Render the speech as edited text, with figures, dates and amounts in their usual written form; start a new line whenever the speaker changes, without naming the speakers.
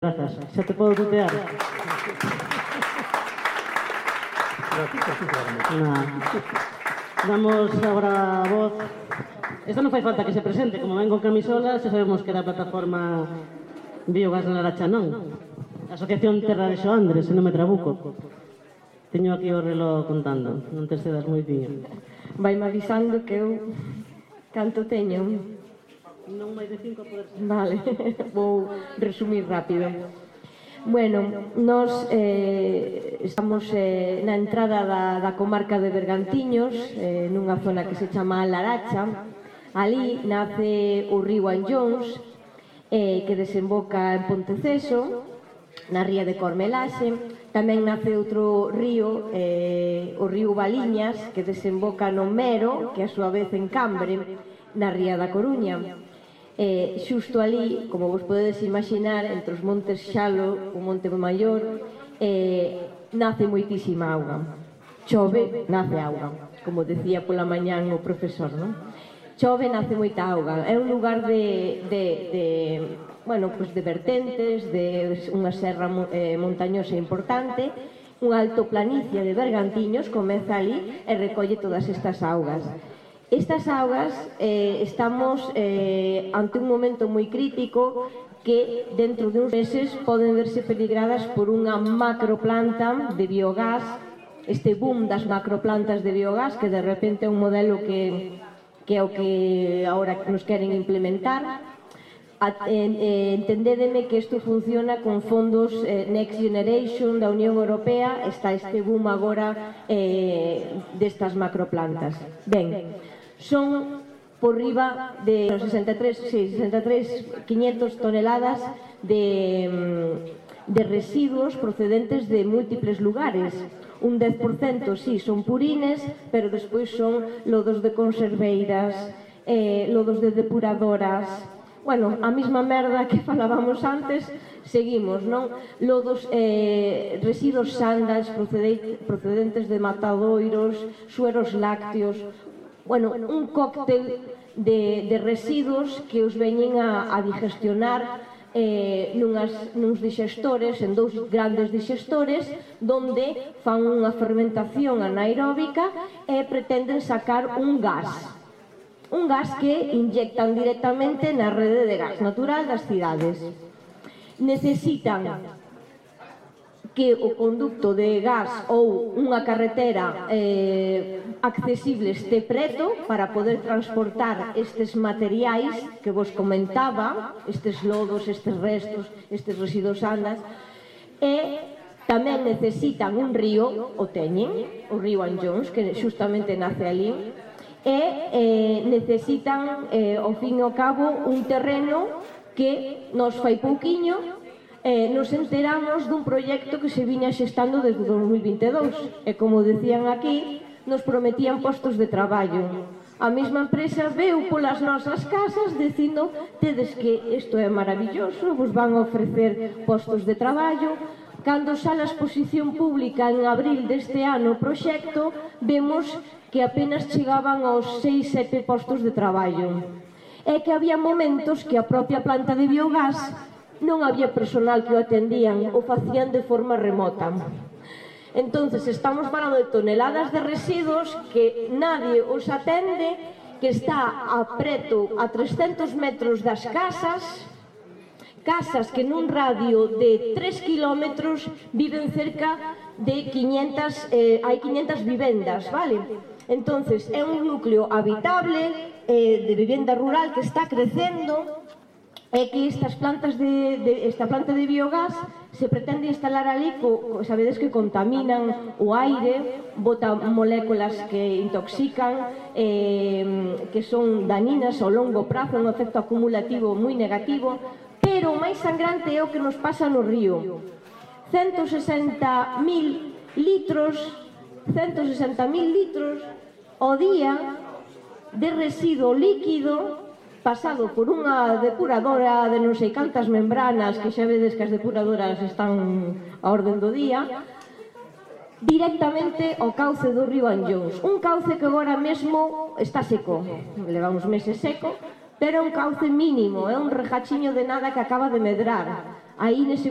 Grazas. Xa te podo tutear? Damos agora a voz. Esta non fai falta que se presente, como ven con camisola, xa sabemos que era a plataforma Biogas na Laracha, non? Asociación Terra de Xoandres, se non me trabuco. Teño aquí o reloj contando, non te cedas moitiño.
Vai-me avisando que eu canto teño.
Non máis de 5 por...
Vale, vou resumir rápido. Bueno, nós estamos na entrada da comarca de Bergantiños, nunha zona que se chama Laracha. Ali nace o río Anllóns, que desemboca en Ponteceso, na ría de Cormelaxe. Tamén nace outro río, o río Valiñas, que desemboca no Mero, que a súa vez en Cambre, na ría da Coruña. Xusto ali, como vos podedes imaginar, entre os montes Xalo, o Monte Maior, nace moitísima auga. Chove, nace auga, como decía pola mañán o profesor, non? Chove, nace moita auga. É un lugar de vertentes, de unha serra montañosa importante, unha altoplanicie de Bergantiños comeza ali e recolle todas estas augas. Estas augas estamos ante un momento moi crítico que dentro de uns meses poden verse peligradas por unha macroplanta de biogás, este boom das macroplantas de biogás que de repente é un modelo que é o que agora nos queren implementar. Entendédeme que isto funciona con fondos Next Generation da Unión Europea, está este boom agora destas macroplantas. Ben, son por riba de 63.500 toneladas de residuos procedentes de múltiples lugares. Un 10% sí son purines, pero despois son lodos de conserveiras, lodos de depuradoras. Bueno, a mesma merda que falábamos antes, seguimos, non? Lodos, residuos sandas procedentes de matadoiros, sueros lácteos. Bueno, un cóctel de residuos que os veñen a digestionar nuns dixestores, en dous grandes dixestores, donde fan unha fermentación anaeróbica e pretenden sacar un gas que inyectan directamente na rede de gas natural das cidades. Necesitan que o conducto de gas ou unha carretera accesible este preto para poder transportar estes materiais que vos comentaba, estes lodos, estes restos, estes residuos andas, e tamén necesitan un río, o teñen, o río Anllóns, que justamente nace ali, e necesitan, ao fin e ao cabo, un terreno que nos fai pouquiño nos enteramos dun proxecto que se viña xestando desde 2022 e, como decían aquí, nos prometían postos de traballo. A mesma empresa veu polas nosas casas dicindo: tedes que isto é maravilloso, vos van a ofrecer postos de traballo. Cando sale a exposición pública en abril deste ano o proxecto, vemos que apenas chegaban aos 6-7 postos de traballo. É que había momentos que a propia planta de biogás non había personal que o atendían, o facían de forma remota. Entonces, estamos falando de toneladas de residuos que nadie os atende, que está a 300 metros das casas que nun radio de 3 kilómetros viven cerca de 500, hai 500 vivendas, vale? Entonces, é un núcleo habitable de vivenda rural que está crecendo. É que esta planta de biogás se pretende instalar ali, sabedes que contaminan o aire, botan moléculas que intoxican, que son daninas ao longo prazo, un efecto acumulativo moi negativo, pero o máis sangrante é o que nos pasa no río. 160.000 litros ao día de residuo líquido pasado por unha depuradora de non sei cantas membranas, que xa vedes que as depuradoras están a orden do día, directamente ao cauce do río Anllóns. Un cauce que agora mesmo está seco, leva uns meses seco, pero é un cauce mínimo, é un rejachiño de nada que acaba de medrar. aí nese